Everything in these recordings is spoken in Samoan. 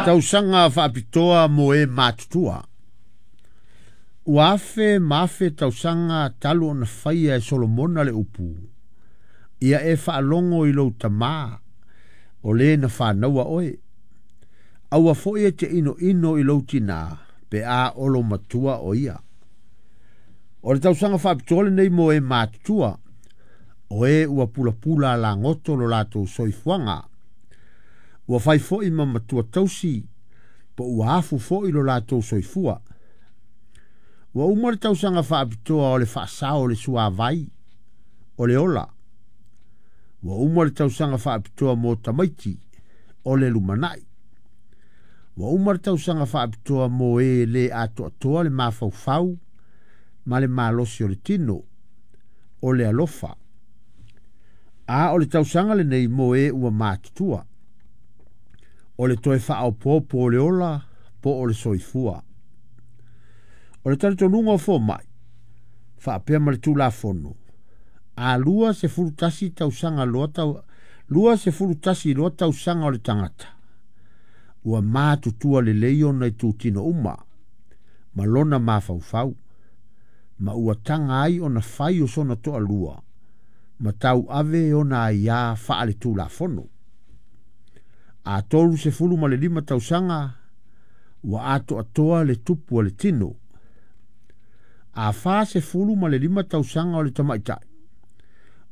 Tausaga faapitoa mo e matutua. Ua afe ma afe tausaga talu ona faia e Solomona le upu, ia e faalogo i lou tamā, o le na fanaua oe. Aua foi e te inoino i lou tinā, pe a olo matua o ia. O le tausaga faapitoa lenei mo e matutua, o e ua pulapula lagoto lo latou soifuaga. Ua fai foi ma matua tausi, po ua afu foi lo latou soifua. Ua uma le tausaga faapitoa o le faasao o le suavai, o le ola. Ua uma le tausaga faapitoa mo tamaiti, o le lumanai. Ua uma le tausaga faapitoa mo e le atoatoa le mafaufau ma le malosi o le tino, o le alofa. A o le tausaga lenei mo e ua matutua, o le toe faaopoopo o le ola po o le soifua. O le talitonuga o fomai, faapea ma le Tulafono, a 21 tausaga loa tau, 21 loa tausaga o le tagata, ua matutua lelei ona itutino uma, ma lona mafaufau, ma ua taga ai ona fai o sona toalua, ma tauave ona aiā faale-tulafono. A 35 tausaga, ua atoatoa le tupu o le tino. A 45 tausaga o le tamaitai,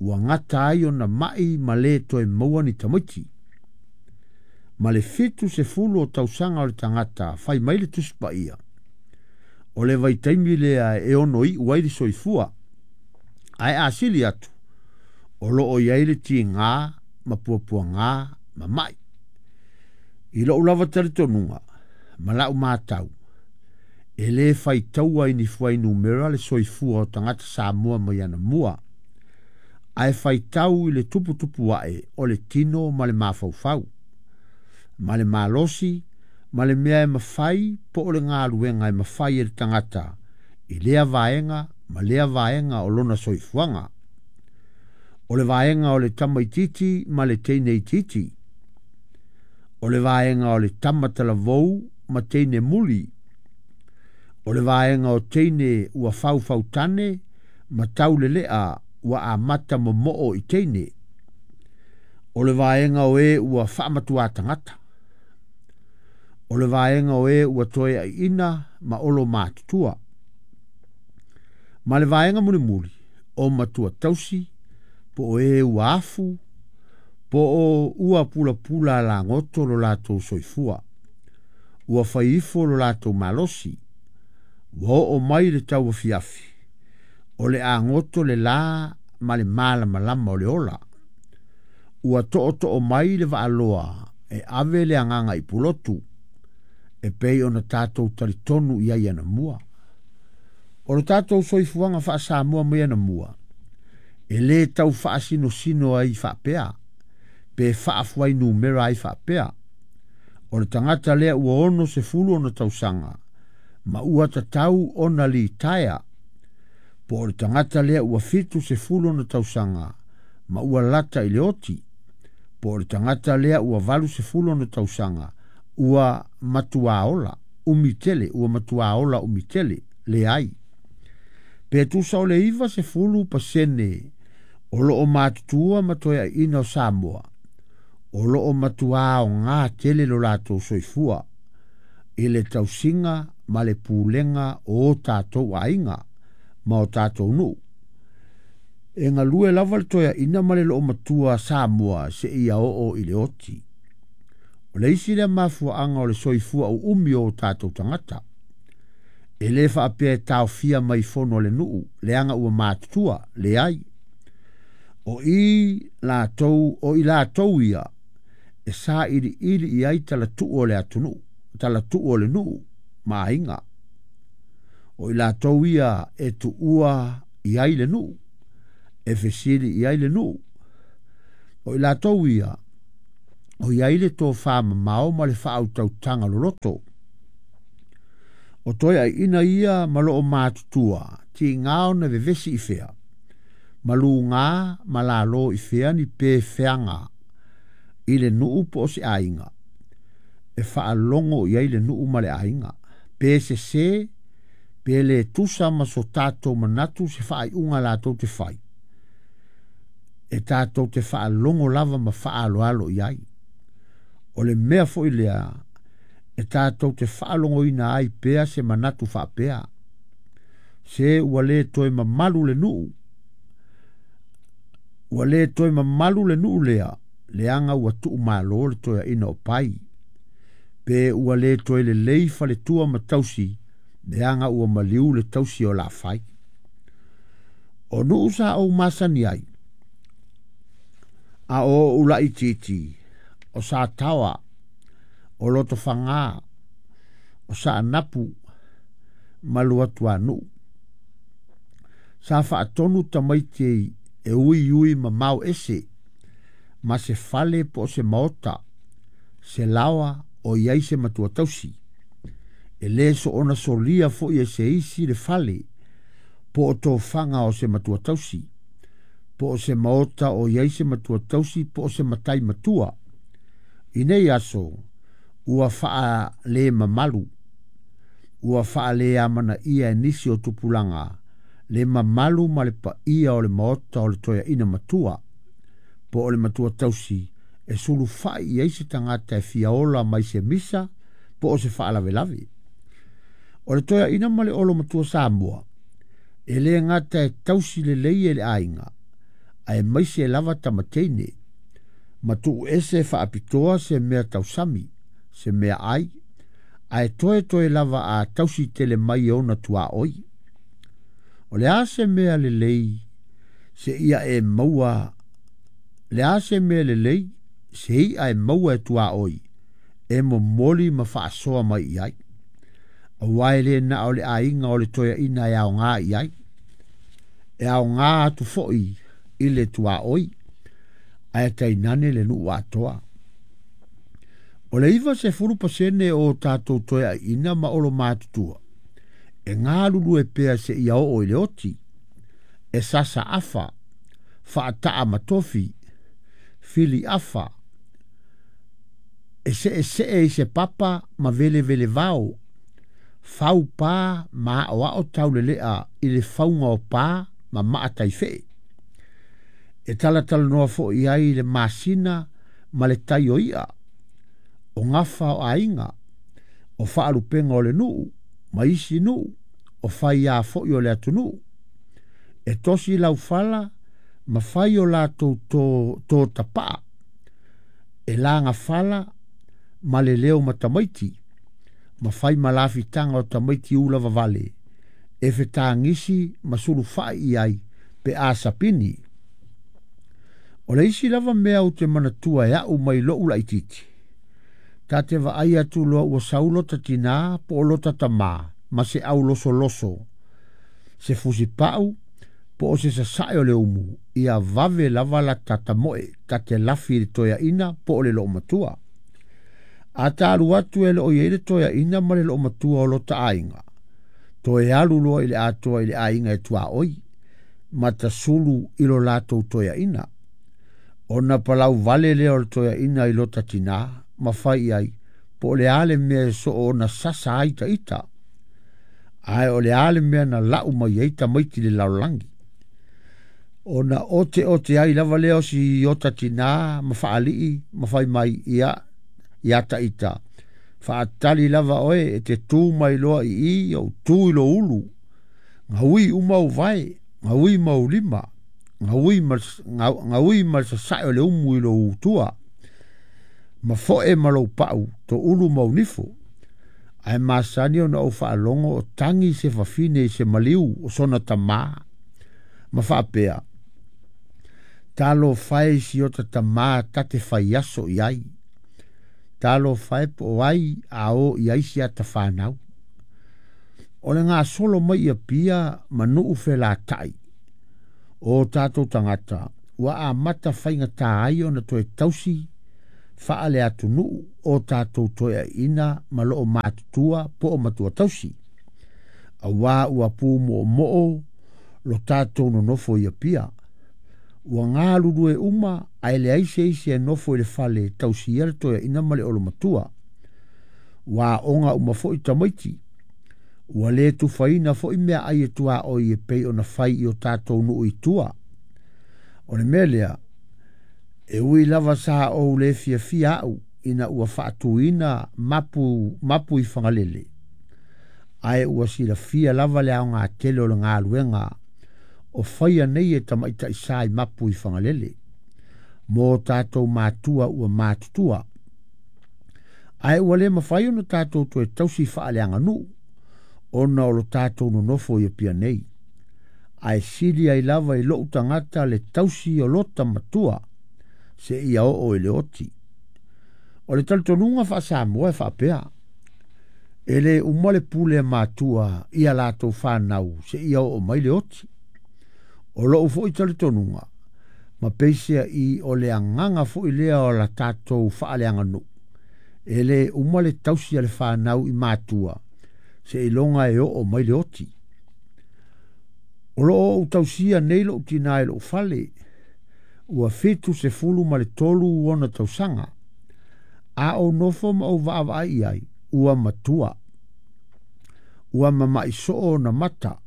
ua gata ai ona mai ma le toe maua ni tamaiti. Ma le 70 o tausaga o le tagata fai mai le Tusi Paia, o le vaitaimi lea e ono iu ai le soifua, ae a sili atu, o loo i ai le tigā ma puapuagā ma mai. I lou lava talitonuga ma lau matau, e lē faitaua i ni fuainumera le soifua o tagata Samoa mai anamua, ae faitau i le tuputupu ae o le tino ma le mafaufau, ma le malosi, ma le mea e mafai po o le galuega e mafai e le tagata i lea vaega ma lea vaega o lona soifuaga. O le vaega o le tamaititi ma le teineititi. O le vaega o le tama talavou ma teine muli. O le vaega o teine ua faufautane ma taulelea ua amata momoo i teine. O le vaega o e ua faamatuā tagata. O le vaega o e ua toe aiina ma olo matutua. Ma le vaega mulimuli, o matua tausi, po o e ua afu, po o ua pulapula lagoto lo latou soifua. Ua fai ifo lo latou malosi. Ua oo mai le tauafiafi, o le agoto le la ma le malamalama o le ola. Ua tootoo mai le vaaloa e ave le agaga i pulotu, e pei ona tatou talitonu i ai anamua. O le tatou soifuaga faa-Samoa mai anamua, e lē tau faasinosino ai faapea, pe faafuainumera ai faapea. O le tagata lea ua 60 ona tausaga, ma ua tatau ona litaea, po o le tagata lea ua 70 ona tausaga, ma ua lata i le oti, po o le tagata lea ua 80 ona tausaga, ua matuā ola, umi tele, ua matuā ola umi tele, leai. Pe tusa o le 90% o loo matutua ma toe aiina o Samoa, o loo matuā aogā tele lo latou soifua, i le tausiga ma le pulega o o tatou aiga ma o tatou nuu. E galue lava le toeaina ma le loomatua Samoa seia oo i le oti. O le isi lea mafuaaga o le soifua uumi o o tatou tagata. E lē faapea e taofia mai fono a le nuu, leaga ua matutua, leai. O i latou, o i latou ia, e sailiili i ai talatuu o le atunuu, talatuu o le nuu ma aiga. O i latou ia e tuua i ai le nuu, e fesili i ai le nuu. O i latou ia, o i ai le tofā mamao ma le faautautaga loloto. O toe aiina ia ma loo matutua, tigā ona vevesi i fea, ma lugā ma lalō i fea ni pefeaga i le nuu po o se aiga. e faalogo i ai le nuu ma le aiga. Pe sesē pe le tusa ma so tatou manatu se faaiuga latou te fai, e tatou te faalogo lava ma faaaloalo i ai. O le mea foi lea e tatou te faalogoina ai pea se manatu faapea, se ua lē toe mamalu le nuu, ua lē toe mamalu le nuu lea, leaga ua tuumalo le toeaina o Pai. Pe ua lē toe lelei faletua ma tausi, leaga ua maliu le tausi o Laafai. O nuu sa ou masani ai a o ou laitiiti, o Sataoa, o Lotofaga, o Saanapu ma Luatuanuu. Sa faatonu tamaiti e uiui mamao ese ma se fale po o se maota, se laoa o i ai se matua tausi. E lē soona solia foi e se isi le fale po o tofaga o se matua tausi, po o se maota o i ai se matua tausi, po o se matai matua. I nei aso ua faalē mamalu, ua faaleamanaia e nisi o tupulaga le mamalu ma le paia o le maota o le toeaina matua po o le matua tausi e sulufai i ai se tagata e fia ola mai se misa po o se faalavelave. O le toeaina ma le olo matua Samoa e lē gata e tausi lelei e le aiga, ae maise lava tamateine ma tuu ese faapitoa se mea tausami, se mea ai, ae toetoe lava a tausi tele mai e ona tuaoi. O le a se mea lelei se ia e maua, le a se mea lelei se i'a e maua e tuaoi e momoli ma faasoa mai i ai, auā e lē na o le aiga o le toeaina e aogā i ai, e aogā atu foi i le tuaoi, ae tainane le nuu atoa. O le 90% o tatou toeaiina ma olo matutua e galulue pea seia oo i le oti, e sasa afa, faataa ma tofi, fili afa, e seesee i se papa ma velevele vao, fau pā ma aoao taulelea i le fauga o pā ma maa taifee. E talatalanoa foi ai i le masina ma le tai o i'a, o gafa o aiga, o faalupega o le nuu ma isi nuu, o faiā foi o le atunuu. E tosi laufala ma fai o latou to tapaa, e lagafala ma le leo ma tamaiti, ma fai ma lafitaga o tamaiti ula vavale e fetagisi ma sulufai i ai pe a sapini. O le isi lava mea ou te manatua e a'u mai lo'u laitiiti, ta te vaai atu loa ua sau lota tinā po o lota tamā ma se aulosoloso, se fusipa'u po o se sasae o le umu, ia vave lava la tatamoe ta te lafi i le toeaina po o le loomatua. A ta alu atu e loo i ai le toeaina ma le loomatua o lota aiga, toe alu loa i le atoa i le aiga e tuaoi ma tasulu i lo latou toeaina. Ona palau vale lea o le toeaina i lota tinā ma fai i ai po o le a le mea e soo ona sasa ai taita, ae o le a le mea na lau mai ai tamaiti i le lalolagi. Ona oteote ai lava lea o si ota tinā ma faalii ma fai mai ia iā taita, faatali lava oe e te tu mai loa i i ou tu i lo ulu, gaui uma ou vae, gaui ma ou lima, gaui ma le sasae o le umu i lou utua, ma foe ma lou pau, to ulu ma ou nifo. Ae masani ona ou faalogo o tagi se fafine i se maliu o sona tamā ma faapea, talofa e i si ota tamā ta te faiaso i ai, talofa e po o ai a o i ai si ata fanau. O le gasolo mai i Apia ma nuu felatai o tatou tagata ua amata faigatā ai ona toe tausi faale atunuu o tatou toeaiina ma loo matutua po o matua tausi, auā ua pumoomoo lo tatou nonofo i Apia. Ua galulue uma ae leai se isi e nofo i le fale e tausia le toeaina ma le olomatua. Ua aoga uma foi tamaiti. Ua lē tufaina foi meaai e tuaoi e pei ona fai i o tatou nuu i tua. O le mea lea, e ui lava sa ou le fiafia au ina ua faatuina mapu, mapu i Fagalele, ae ua silafia lava le aoga tele o le galuega o faia nei e tamaitai sa i mapu i Fagalele mo tatou matua ua matutua. Ae ua le mafai ona tatou toe tausi faaleaganuu ona o lo tatou nonofo i Apia nei. Ae sili ai lava i lou tagata le tausi o lota matua seia oo i le oti. O le talitonuga faa-Samoa e faapea, e le uma le pule a matua i a latou fanau seia oo mai le oti. O lou foi talitonuga, ma peiseai o le agaga foi lea o la tatou faaleaganuu, e le uma le tausi a le fanau i matua seiloga e oo mai le oti. O lo o ou tausia nei lou tinā i lou fale, ua 73 ona tausaga. A ou nofo ma ou vaavaai i ai, ua matua. Ua mama'i soo ona mata.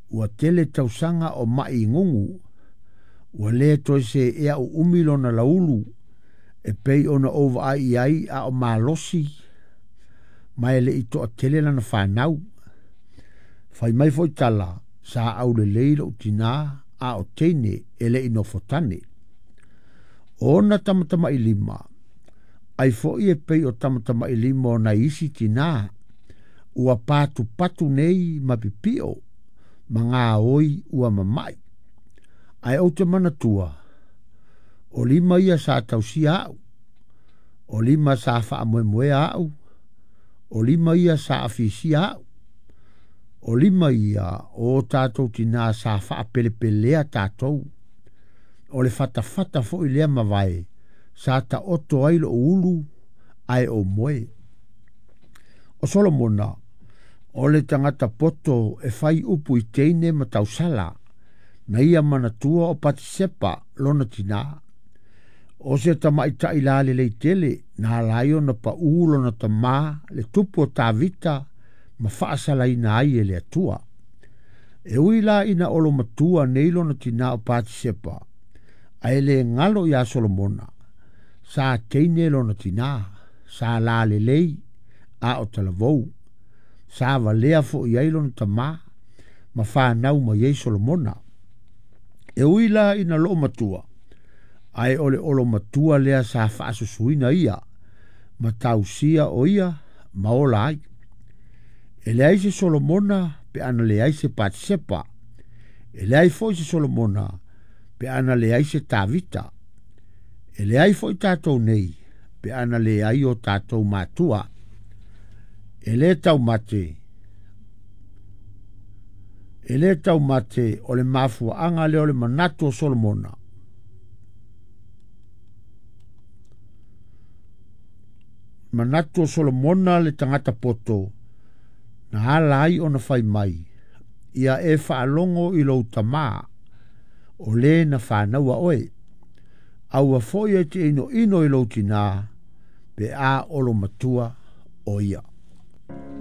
Ua tele tausaga o ma'i gugu. Ua le toe seea uumi lona laulu e pei ona ou vaai i ai a o malosi ma e le i toatele lana fanau. Fai mai foi tala, sa aulelei lou tinā a o teine e le i nofotane. O ona tamatamailima, ai foi e pei o tamatamailima o nai isi tinā, ua patupatu nei ma pipio ma gaoi ua mama'i. Ae ou te manatua, o lima ia sa tausia au, o lima sa faamoemoea au, o lima ia sa afisia au, o lima ia o tatou tinā sa faapelepelea tatou. O le fatafata foi lea mavae sa taoto ai lou ulu ae ou moe. O Solomona, o le tagata poto e fai upu i teine ma tausala, na ia manatua o Patisepa lona tinā. O se tamaitai lalelei tele na ala ai ona paū lona tamā le tupu o Tavita ma faasalaina ai e le Atua. E ui la ina olomatua nei lona tinā o Patisepa, ae le galo iā Solomona, sa teine lona tinā, sa lalelei a o talavou. Sa valea foi ai lona tamā ma fanau mai ai Solomona. E ui la ina loomatua, ae o le olomatua lea sa faasusuina ia, ma tausia o ia ma ola ai. E leai se Solomona pe ana leai se Patisepa. E leai foi se Solomona pe ana leai se Tavita. E leai foi tatou nei pe ana leai o tatou matua. E le taumate, e le taumate o le mafuaaga lea o le manatu o Solomona. Manatu o Solomona le tagata poto, na ala ai ona fai mai, ia e faalogo i lou tamā, o le na fanaua oe. Aua foi e te inoino i lou tinā, pe a olomatua o ia.